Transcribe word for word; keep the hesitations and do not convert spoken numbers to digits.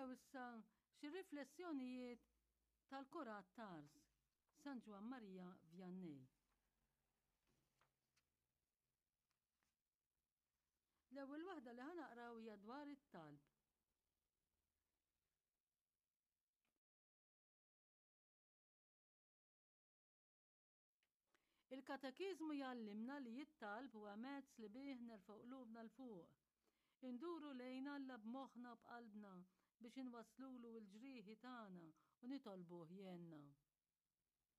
naqraw issa xi riflessjonijiet tal-Kurat t'Ars, San Ġwann Marija Vianney. L-ewwel waħda li ħa naqraw hija dwar it-talb. Il-Katekiżmu jgħallimna li t-talb huwa mezz li bih nerfgħu qlubna 'l fuq. Induru lejn Alla b'moħħna u b'qalbna biex inwasslulu l-ġrieħi tagħna u nitolbuh jgħinna.